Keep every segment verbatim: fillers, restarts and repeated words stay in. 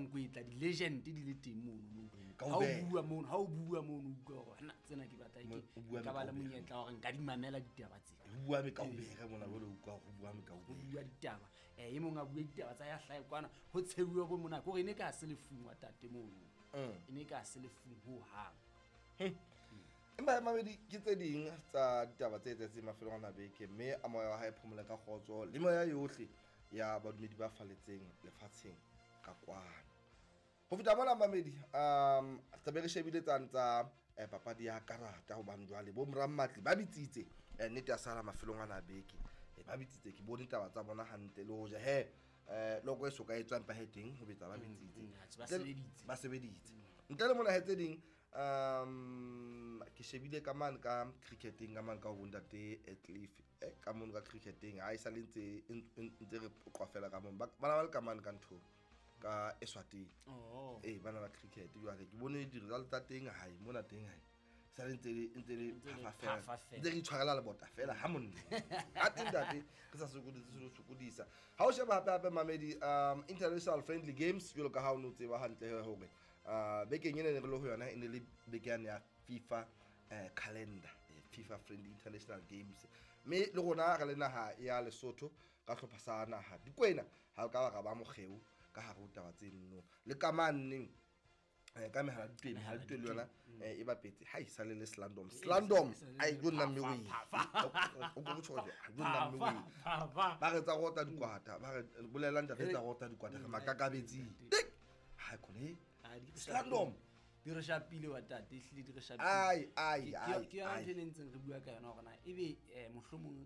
Kwetla di-legend di le teng mono. Ka Ha o ubela. bua mono, ha o bua mono, o utlwa hore na tsena ke batla Mo- ke o bua ka ba le mekaubere. monyetla wa hore nka di mamela ditaba tsena. Ho bua mekaubere mona jwale, o utlwa ho bua Ho mekaubere. bua ditaba, um e mong a bua ditaba tsa ya hlae kwana, ho tshehuwa bo mona, kore e ne ka se lefung wa tate mono. Mm. E ne ka se lefung hohang. Empa mamedi, ke tse ding tsa ditaba tse etsahetseng mafelong a beke, mme a moya wa hae phomole ka kgotso le moya yohle ya badumedi ba faletseng lefatsheng ka kwano. Ho feta mona mamedi, um tlabe re shebile tsane tsa eh, papadi ya karata, hobane jwale bo morammatli ba bitsitse, eh, nnete ya sala mafelong ana a beke. Eh, ba bitsitse, ke bone taba tsa bona hantle le hoja he eh loko e soka e tswang pa he teng ho betsa ba bitsitse. mm, atjhe, ba Ntle- sebeditse. Ba sebeditse. Ntle le mona he tse ding, um ke shebile ka mane ka cricketeng, ka mane ka ho bontate eh, Cliff, eh, ka mono ka cricketeng ha e sale ntse ntse re qoqa fela ka mono. Ba bana ba le ka mane ka ntho ka Eswatini. Oh. Ee, bana ba cricket jwale ke bone di-result tsa teng hae mona teng hae sale ntse le ntse le Ntse le phafa fela. phafa fela. Ntse re itshwarela lebota fela ha monna a teng ntate, re sa sokodise se sokodisa. Ha o sheba hape hape mamedi, um international friendly games, jwalo ka ha o no tseba hantle hore uh bekeng ena ne re le ho yona, e ne le beke yane ya FIFA eh, calendar, eh, FIFA friendly international games, mme le rona re le naha ya Lesotho ka hlopha sa naha Dikwena ha o ka ba ra ba mokgeo ka hare ho taba tseno le ka maneng eh, ka mehala ditweng, mehala ditweng le yona eh, e bapetse ha e sale le Slandom Slandom ai jo nna mme we o ko tjho jo nna mme we Phafa. Ba re tsa rota dikwata, ba re bolela ntate tsa rota dikwata re makakabetsing ha khone. Ah, di re Slandom. Di re shapile wa tate, ehlile di re shapile. Ai ai Ke- ai ke ke yona ai. Ntho e ne ntseng re bua ka yona hore na ebe um mohlomong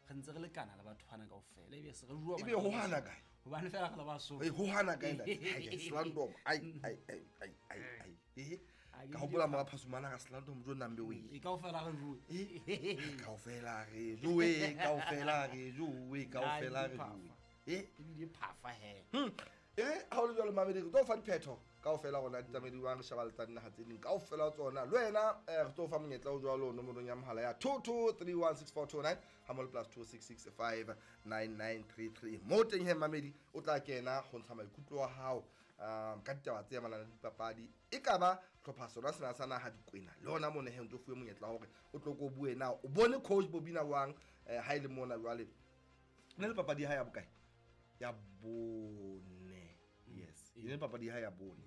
re ntse re lekana le batho bana kaofela, ebe se re bua Ebe ho hana kae? Hobane fela re le Basotho. Ei, ho hana kae ntate? Hai, Slandom, ai ai ai ai ai ai eh Ah, ke ka di hopola mora phasumana ka Slandom jo nna mme we. E kaofela re jowe. Eh, kaofela re jowe, kaofela re jowe, kaofela re jowe eh Ebile phafa he. Hmm. E re ha o le jwalo mamedi, re tlo fa diphetho kaofela rona di tsamediwang, re sheba le tsa dinaha tse ding kaofela tsona. Le wena eh, re tlo fa monyetla o jwalo nomorong ya mohala ya two two three one six four two nine ha mo le plus two six six five nine nine three three. Mo teng he mamedi, o tla kena ho ntsha maikutlo a hao um ka ditaba tse amanang le dipapadi, e ka ba hlopha sona sena sa naha Dikwena le hona mona he o ntso fuwe monyetla wa hore o tlo ko bue na o bone coach Bobina wang eh, ha e le mona jwale ne le papadi ya hae ya bokae, ya bone. Yes, e ne le papadi ya hae ya bone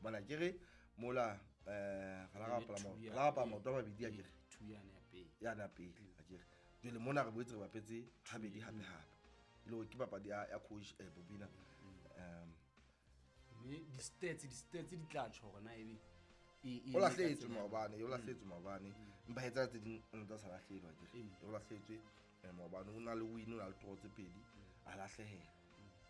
bona ke re mola eh re la bapala Two ma- ya- re la bapala maoto a mabedi a kere. Two yane ya pele. Ya na pele a kere, jwale mona re boetse re bapetse habedi hape hape e le hore ke papadi ya ya coach eh, Bobina um Mme di-stats di-stats di tla tjho hore na ebe e- e O le ka lahlehetswe tsela- maobane, o lahlehetswe maobane, empa he tsena tse ding o ntse a sa lahlehelwa akere. Mm. O lahlehetswe eh, maobane, o na le win, o na le draw tse pedi, a lahlehela,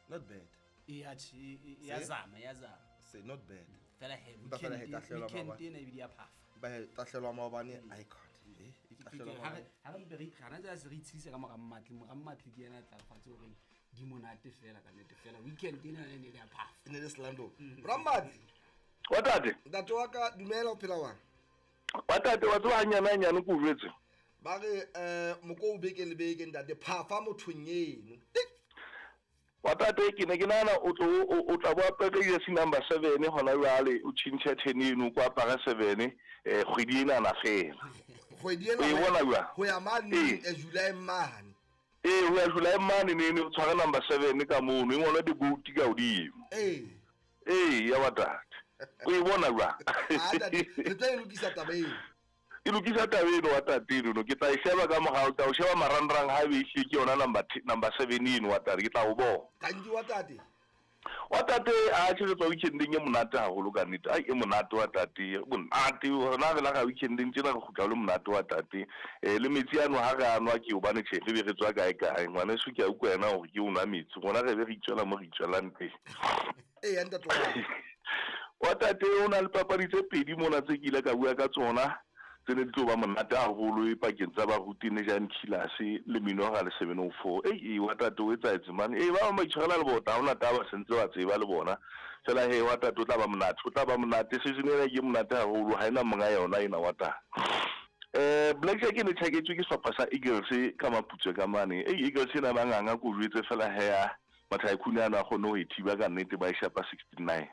not bad. E atjhe, e- e- ya Se? zama, ya zama. Say not bad. Fela he Empa fela he weekend tahlelwa weekend maobane. ena ebile ya phafa. Empa he tahlelwa maobane icon eh e tahlelwa Ha re maobane. ha re mpe re gana tsa se re itshedisa ka mora Mmatli, mora Mmatli ke yena a tla re fatshe horeng di monate fela ka nnete fela weekend ena e ne le ya phafa. E ne le Slando Rammatli. Wa tate. Ntate wa ka, dumela, o phela wang? Wa tate, wa tseba hanyane hanyane ke o jwetse. Ba re eh moko o beke le beke ntate phafa mothong eno. Tik! Wa tate, ke ne ke nahana o tlo o o tla bo apere jersey number seven hona jwale, o tjhentjhe ten eno, ko apara seven eh kgwedi ena na fela. Kgwedi ena O e bona jwang? Ho ya mane Ee. eh, July mane. Ee, ho ya July mane nene o tshware number seven ka mono, e ngolwe di-goat ka hodimo. Ee. Ee, ya wa tate. O e bona jwang? Ah, ntate, re tlo e lokisa taba eno. E lokisa taba eno wa tate eno, ke tla e sheba ka morao, ke tla o sheba marangrang ha ebe ehlile ke yona number t-, number seven eno wa tate, ke tla o bona. Thank you wa tate. Wa tate, a tjhe, re tswa weekendeng e monate haholo ka nnete. Ai, e monate wa tate, monate. Rona re la ga weekendeng tjena re kgutla ho le monate wa tate. Eh, le metsi ano ha re a nwa ke hobane tjhe, re be re tswa kae kae. Ngwaneso ke a utlwa yena hore ke o nwa metsi. Rona re be re itswela mo re itswelang teng. Ee, ya ntate wa ka. Wa tate, o na le papadi tse pedi mona tse ke ile ka bua ka tsona, tse ne di tlo ba monate haholo e pakeng tsa baruti ne Jan Killers le Minora le seven oh four. Ei, ei, wa tate, o etsahetse mane. Ei, ba bang ba itshwarela le bota, ha hona taba, se ntse ba tseba le bona. Fela he, wa tate, o tla ba monate, o tla ba monate. Season ena ke monate haholo, ha ena monga yona ena wa tate. Eh, Black Shark e ne tjhaketswe ke sehlopha sa Eagles ka Maputswe ka mane. Ei, Eagles ena ba nganga ko jwetse fela he, Mathaikune ana a kgone ho e thiba ka nnete, ba e shapa sixty-nine.